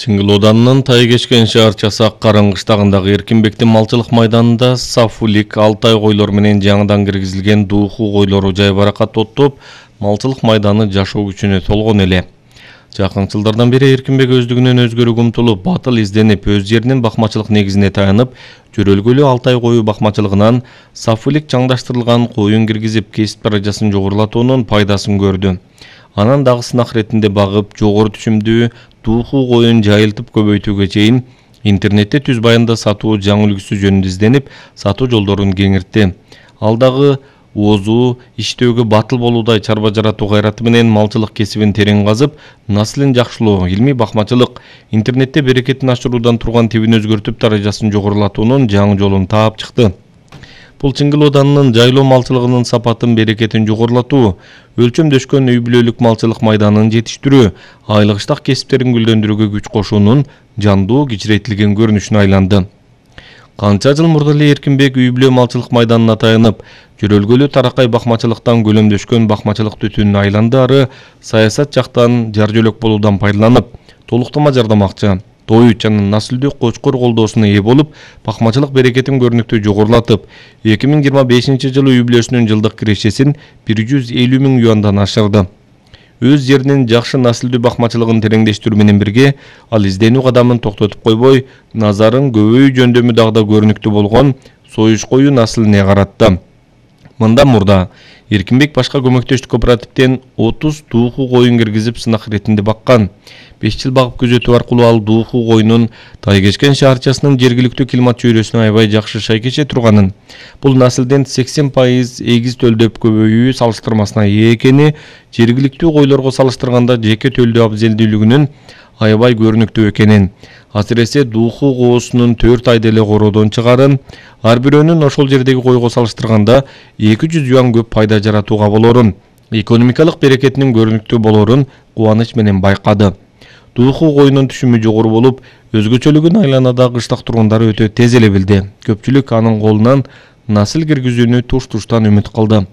Чыңгылууданын тай кечкен шаарчасы Ак Карын кыштагындагы Эркинбектин малчылык майданында Сафулик, Алтай койлор менен жаңыдан киргизилген дууху койлору жайбаракат оттоп, малчылык майданы жашоо күчүнө толгон эле. Жакын жылдардан бери Эркинбек өздүгүнөн өзгөрүүгө умтулуп, батыл изденип, өз жеринин бакмачылык негизине таянып, жөрөлгөлүү Алтай кою бакмачылыгынан Сафулик чаңдаштырылган коюн киргизип, кесип даражасын жогорулатуунун пайдасын көрдү. Анан дагы сынак иретинде багып, жогору түшүмдүү дууху коюн жайылтып көбөйтүүгө чейин интернетте түз баянда сатуу жаңы үлгүсү жөнүндө изденип, сатуу жолдорун кеңиртти. Ал дагы оозу, иштөөгө батыл болуудай чарба жаратуу кайраты менен малчылык кесибин терең казып, наслын жакшылоо, илмий бакмачылык, интернетте берекетин ашыруудан турган тибин өзгөртүп, даражасын жогорулатуунун жаңы жолун таап чыкты. Бул Чыңгылууданын жайлоо малчылыгынын сапатын, берекетин жогорулатуу, өлчөмдөшкөн үй бүлөлүк малчылык майданын жетиштирүү, айлык ыштак кесиптерин гүлдөндүрүүгө күч кошуунун жандуу, кичирейтилген көрүнүшүнө айланды. Канча жыл мурда эле Эркинбек үй бүлө малчылык майданына таянып, жөрөлгөлүү таракай бакмачылыктан гөлөмдөшкөн бакмачылык түтүнүнө айланды, ары саясат жактан жар жөлөк болуудан пайдаланып, толуктама жардамакчы, той жана наслдүү кочкор колдоосуна ээ болуп, бакмачылык берекетин көрүнүктүү жогорулатып, 2025-жылы үй бүлөсүнүн жылдык кирешесин 150 000 юандан ашырды. Өз жеринин жакшы наслдүү бакмачылыгын тереңдештирүү менен бирге, ал изденүү кадамын токтотуп койбой, назарын көбөйүү жөндөмү дагы да көрүнүктүү болгон союш кою наслине каратты. Мындан мурда Эркинбек башка көмөктөштүк кооперативден 30 дууху коюн киргизип сынак иретинде баккан. 5 жыл багып күзөтүү аркылуу ал дууху коюнун тай кечкен шаарчасынын жергиликтүү климат чөйрөсүнө аябай жакшы шайкеше турганын, бул наслден 80% эгиз төлдөп көбөйүү салыштырмасына ээ экени, жергиликтүү койлорго салыштырганда жеке төлдөө абзелдүүлүгүнүн аябай көрүнүктүү экенин, асиресе дууху коосунун 4 айда эле короодон чыгарын, ар бирөөнүн ошол жердеги койго салыштырганда 200 юан көп пайда жаратууга болорун, экономикалык берекетинин көрүнүктүү болорун кубаныч менен байкады. Дууху коюнун түшүмү жогору болуп, өзгөчөлүгүн айланадагы кыштак тургундары өтө тез эле билди. Көпчүлүк анын колунан насыл киргизүүнү туш-туштан үмүт кылды.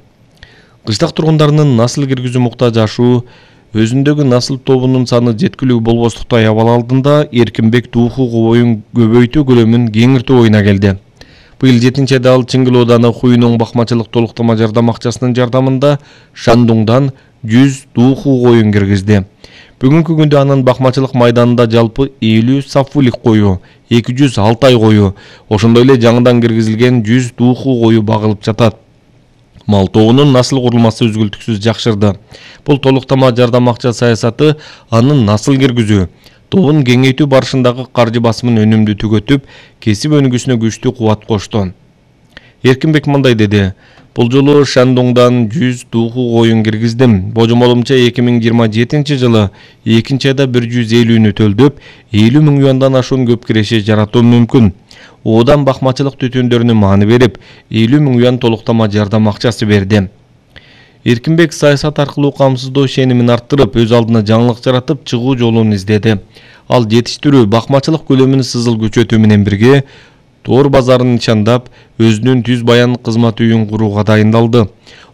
Кыштак тургундарынын насыл киргизүү муктаж ашуу, өзүндөгү насыл тобунун саны жеткилүү болбостуктай абал алдында Эркинбек дууху коюн көбөйтүү көлөмүн кеңиртүү оюна келди. Быйыл 7-айда ал Чыңгылууданы Хуйнуң бакмачылык толуктама жардам акчасынын жардамында Шандуңдан 100 дууху коюн киргизди. Бүгүнкү күндө анын бакмачылык майданында жалпы 50 Сафулик кою, 200 Алтай кою, ошондой эле жаңыдан киргизилген 100 дууху кою багылып жатат. Мал тобунун насыл курулмасы үзгүлтүксүз жакшырды. Бул толуктама жардам акча саясаты анын насыл киргизүү, тобун кеңейтүү барышындагы каржы басымын өнүмдүү түгөтүп, кесип өнүгүүсүнө күчтүү кубат кошту. Эркинбек мындай деди: бул жолу Шандуңдан 100 дууху коюн киргиздим. Божомолумча 2027-жылы 2-айда 150-нү төлдөп, 50 000 юандан ашуун көп киреше жаратуум мүмкүн. Одан бакмачылык түтүндөрүнө маани берип, 50 000 юан толуктама жардам акчасы берди. Эркинбек саясат аркылуу камсыздоо ишенимин арттырып, өз алдына жаңылык жаратып, чыгуу жолун издеди. Ал жетиштирүү, бакмачылык көлөмүн сызыл күчөтүү менен бирге тоор базарын ничандап, өзүнүн түз баян кызмат үйүн курууга дайындалды.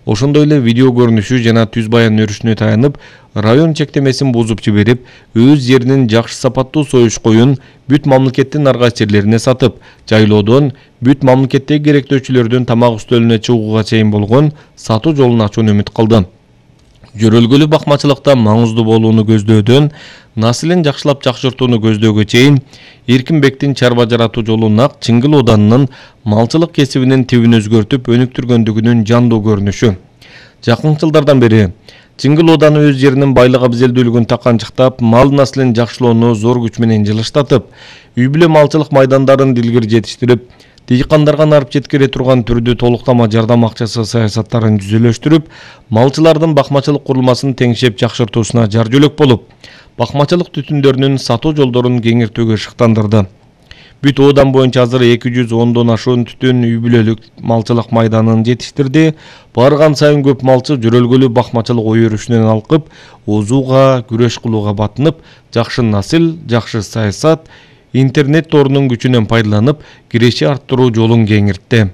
Ошондой эле видео көрүнүшү жана түз баян өрүшүнө таянып, район чектемесин бузуп жиберип, өз жеринин жакшы сапаттуу союш коюн бүт мамлекеттин ар кайсы жерлерине сатып, жайлоодон бүт мамлекеттеги керектөөчүлөрдүн тамак үстөлүнө чыгууга чейин болгон сатуу жолун ачууну үмүт кылды. Жөрөлгөлүү бакмачылыкта маңыздуу болууну көздөөдөн, наслын жакшылап жакшыртууну көздөөгө чейин Эркинбектин чарба жаратуу жолу нак Чыңгылууданын малчылык кесибинин тибин өзгөртүп өнүктүргөндүгүнүн жандуу көрүнүшү. Жакын жылдардан бери Чыңгылууданы өз жеринин байлык абзелдүүлүгүн таканчыктап, мал наслын жакшылоону зор күч менен жылыштатып, үй бүлө малчылык майдандарын дилгир жетиштирип, дыйкандарга нарып жеткире турган түрдүү толуктама жардам акчасы саясаттарын жүзөлөштүрүп, малчылардын бакмачылык курулмасын теңшеп жакшыртуусуна жар жөлөк болуп, бакмачылык түтүндөрүнүн сатуу жолдорун кеңиртүүгө шыктандырды. Бүт оодан боюнча азыр 210дон ашуун түтүн үй бүлөлүк малчылык майданын жетиштирди. Барган сайын көп малчы жөрөлгөлүү бакмачылык ой өрүшүнөн алкып, оозууга, күрөш кылууга батынып, жакшы насыл, жакшы саясат, интернет торунун күчүнөн пайдаланып, киреше арттыруу жолун кеңиртти.